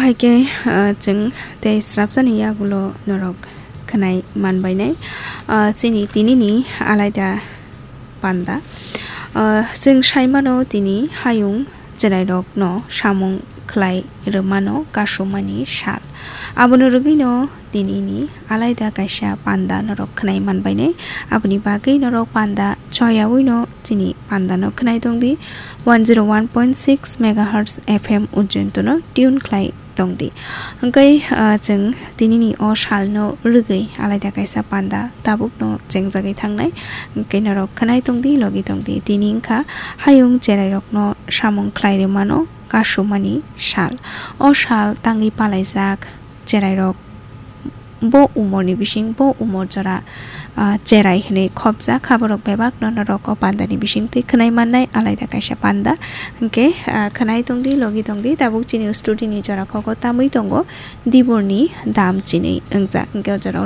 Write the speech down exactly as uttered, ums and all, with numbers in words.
Hwnkhe, ah, chwng tei srapjani yagulo norok khwnai manbainai, ah, chini tinini alaida panda. Ah, chwng saimano tini hayung chwrairokno samung khlai rwmano kasumani sal. Abono rwgwino tinini alaida kaisa panda norok khwnai manbainai. Aboni bagwi norok panda choyawino chini pandano khwnai tongdi. One zero one point six megahertz F M ujjointono tune khlai tongdi. Hwnkhe, ah, chwng tinini o salno rwgwi alaida kaisa panda tabukno chengjagwi thangnai. Hwnkhe norok khwnai tongdi, logi tongdi. Tini wngkha hayung chwrairokno samung khlai rwmano kasumani sal. O sal tangwi palaijak chwrairok bo umorni bising, bo umor jora, ah, cherai hwnwi khopjak kha borok bebakno norok o pandani bisingtwi khwnai mannai alaida kaisa panda. Hwnkhe, ah, khwnai tongdi, logi tongdi, tabuk chini studio ni jora kok o tamwi tongo diborni dam chini wngjak. Hwnkhe o jora